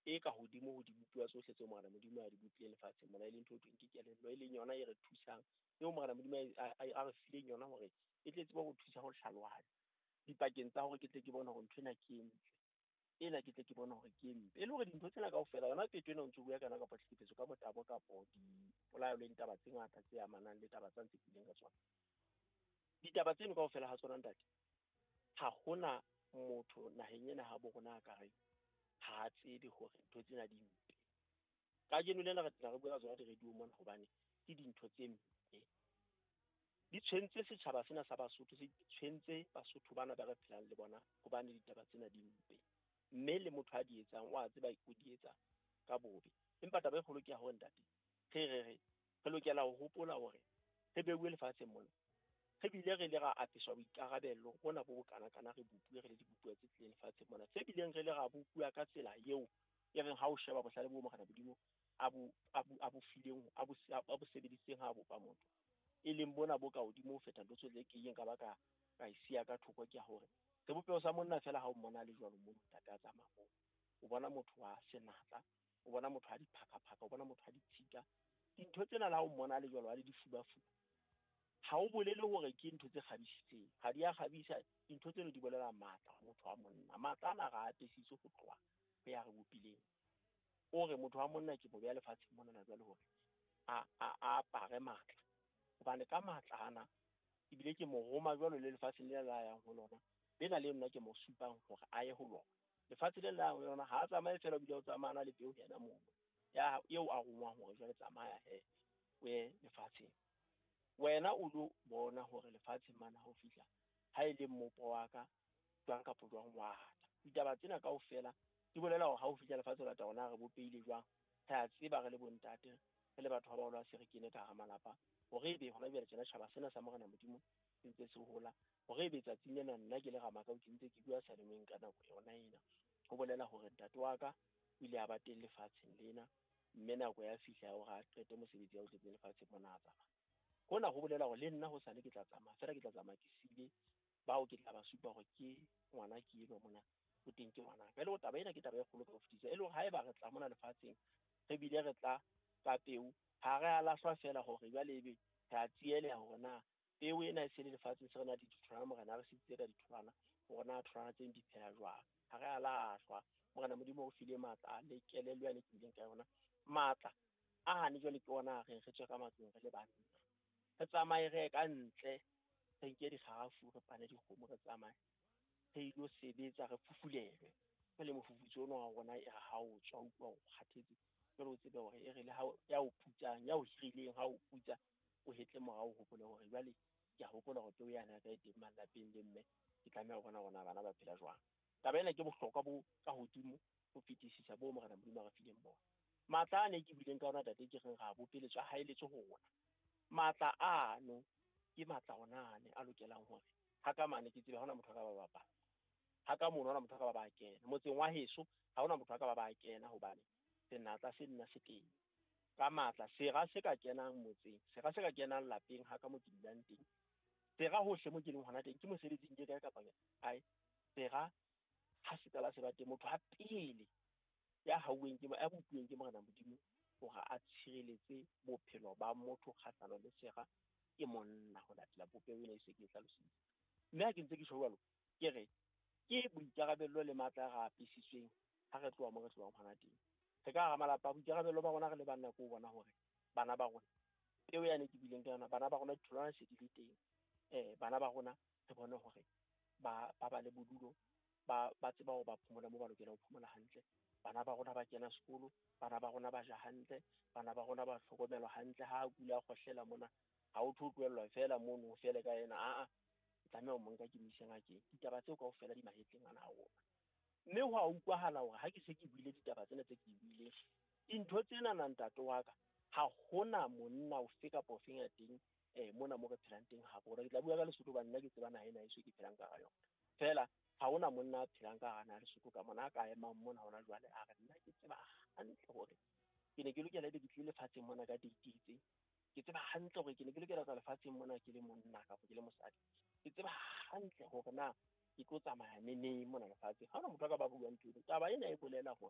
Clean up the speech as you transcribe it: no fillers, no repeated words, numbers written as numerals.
e ka hodimo ho dibopuwa tsohle tseo Morena Modimo a di bopileng lefatsheng mona, e leng ntho e thweng ke kelello, e leng yona e re thusang, eo Morena Modimo a re fileng yona hore e tle tsebe ho thusa ho hlalohanya dipakeng tsa hore ke tle ke bone hore ntho ena ke e ntle, ena ke tle ke bone hore ke e mpe. E le hore dintho tsena kaofela, yona peto ena o ntso bua ka yona, kapa tlhekefetso ka motabo, kapo dipolayo le ditaba tse ngata tse amanang le taba tsa ntse ke ka tsona. Ditaba tseno kaofela ha tsona ntate, ha hona motho naheng ena ha bo rona a ka reng ha a tsebe hore ntho tsena di mpe. Kajeno lena re tla re bua ka tsona di-radio mona hobane ke dintho tse mpe. Di tshwentse setjhaba sena sa Basotho, se tshwentse Basotho bana ba re phelang le bona, hobane ditaba tsena di mpe. Mme le motho a di etsang o a tseba o di etsa ka bobe. Empa taba e kgolo ke ya hore ntate, re re re re lokela ho hopola hore re beuwe lefatsheng mona. Re bile re le ra apeswa boikarabello bona bo bokanakana, re bopuwe re le dibopuwa tse tlileng lefatsheng mona, tse bileng re le ra bopuwa ka tsela eo e reng ha o sheba bohlale bo Morena Modimo a bo a bo fileng, a bo sebedisitseng ha a bopa motho, e leng bona bo ka hodimo ho feta ntho tsohle ke ileng ka ba ka e siya ka thoko, ke ya hore sebopeho sa monna feela ha o mmona le jwalo mono ntate a tsamaya moo, o bona motho wa senatla, o bona motho a diphakaphaka, o bona motho a ditshika. Dintho tsena le ha o mmona le jwalo a le difubafuba, ha o bolele hore ke ntho tse kgabisitseng, ha di a kgabisa. Dintho tseno di bolela matla ho motho wa monna. Matla ana re a apesitswe ho tloha ho ya re bopileng. O re motho wa monna ke mo beha lefatsheng monana jwale hore a apare matla, hobane ka matla ana ebile ke mo roma jwalo le lefatsheng lena la yang ho lona, lena le nna ke mo supang hore a ye ho lona. Lefatshe le la yang ho lona ha a tsamaye feela, o bile o tsamaya le peo yena mono ya eo a rongwang hore jwale tsamaya he o ye lefatsheng. Wena o lo bona hore lefatsheng mane ha o fihla, ha e le mmopo wa ka jwang kapa jwang wa ata. Ditaba tsena kaofela di bolela hore ha o fihla lefatshe o lata hore na re bopehile jwang. Re a tseba re le bontate, re le batho ba baholo, ha se re kene ka hara malapa, hore ebe hona jwale tjena tjhaba sena sa Morena Modimo se ntse se hola, hore ebe tsatsing lena nna ke le Ramakau ke ntse ke bua seyalemoyeng ka nako yona ena, ho bolela hore ntate wa ka o ile a ba teng lefatsheng lena, mme nako ya fihla ya hore a qete mosebetsi ya o tletseng lefatsheng mona a tsamaya. Hona ho bolela hore le nna hosane ke tla tsamaya, feela ke tla tsamaya ke siile bao ke tla ba supa hore ke ngwana ke enwa mona, o teng ke ngwana ka. E le hore taba ena ke taba e kgolo ka ho fetisisa, e le hore haeba re tla mona lefatsheng, re bile re tla ka peo, ha re a lahlwa feela hore jwale ebe re a tsieleha hore na peo ena e se le lefatsheng, se re na le ditholwana, Morena a re sitse ka ditholwana, hore na tholwana tseno di phela jwang. Ha re a lahlwa. Morena Modimo o file matla le kelello yane ke bileng ka yona. Matla a hane jwale ke ona a reng re tswe ka matlong re le banna, re tsamaye re ye ka ntle, re nke dikgarafu, re pane dikgomo, re tsamaye re ilo sebetsa, re fufulelwe. Jwale mofufutso ono wa rona e re ha o tswa utlwa o kgathetse, jwale o tsebe hore e re le ha ya o putsang, ya o hirileng ha o putsa, o hetle morao, o hopole hore jwale ke a hopola hore peo yane ya ka e teng malapeng le mme, ke tlameha ho bona hore na bana ba phela jwang. Taba ena ke bohlokwa bo ka hodimo ho fetisisa bo Morena Modimo a re fileng bona. Matla a ne ke buileng ka ona tate, ke reng ra bopeletswe, a haeletswe ho rona. Matla ano ke matla ona ane a lokelang hore ha ka mane ke tsebe ha hona motho a ka ba bapala, ha ka mono ha hona motho a ka ba ba kena motseng wa heso, ha hona motho a ka ba ba kena, hobane senatla se nna se teng ka matla. Sera se ka kenang motseng, sera se ka kenang lapeng ha ka mo ke dulang teng, sera hohle mo ke leng hona teng, ke mosebetsing ke kae kapa kae, sera ha se qala se ba teng, motho ha pele ya hauweng ke ya bopuweng ke Morena Modimo hore a tshireletse bophelo ba motho kgahlano le sera ke monna, ho latela popeho ena e se ke e hlalositse. Mme ha ke ntse ke tjho jwalo, ke re ke boikarabello le matla a re apesitsweng ha re tloha mo re tlohang hona teng. Re ka hara malapa, boikarabello ba rona re le banna ke ho bona hore bana ba rona, peo yane ke buileng ka yona, bana ba rona ditholwana se di le teng. Bana ba rona re bone hore ba ba le bodulo, ba tseba hore ba phomola moo ba lokelang ho phomola hantle. Bana ba rona ba kena sekolo, bana ba rona ba ja hantle, bana ba rona ba hlokomelwa hantle. Ha a kula a kgohlela mona, ha o tlo tlohellwa feela mono fele ka yena, aa tlameha ho mo nka ke mo ise ngakeng. Ditaba tseo kaofela di mahetleng ana a rona. Mme ho a utlwahala hore ha ke se ke buile ditaba tsena tse ke buileng, dintho tsena na ntate wa ka, ha hona monna ofe kapa ofeng ya teng mona mo re phelang teng ha rona. Ke tla bua ka Lesotho hobane nna ke tseba naha ena heso ke phelang ka hara yona. Feela ha hona monna a phelang ka hara naha Lesotho ka mona a ka emang mona hona jwale a re nna ke tseba hantle hore ke ne ke lokela ebe ke tlile lefatsheng mona ka date e itseng. Ke tseba hantle hore ke ne ke lokela ho tla lefatsheng mona ke le monna kapa ke le mosadi. Ke tseba hantle hore na ke tlo tsamaya neneng mona lefatsheng. Ha hona motho a ka ba buang ntho eno. Taba ena e bolela hore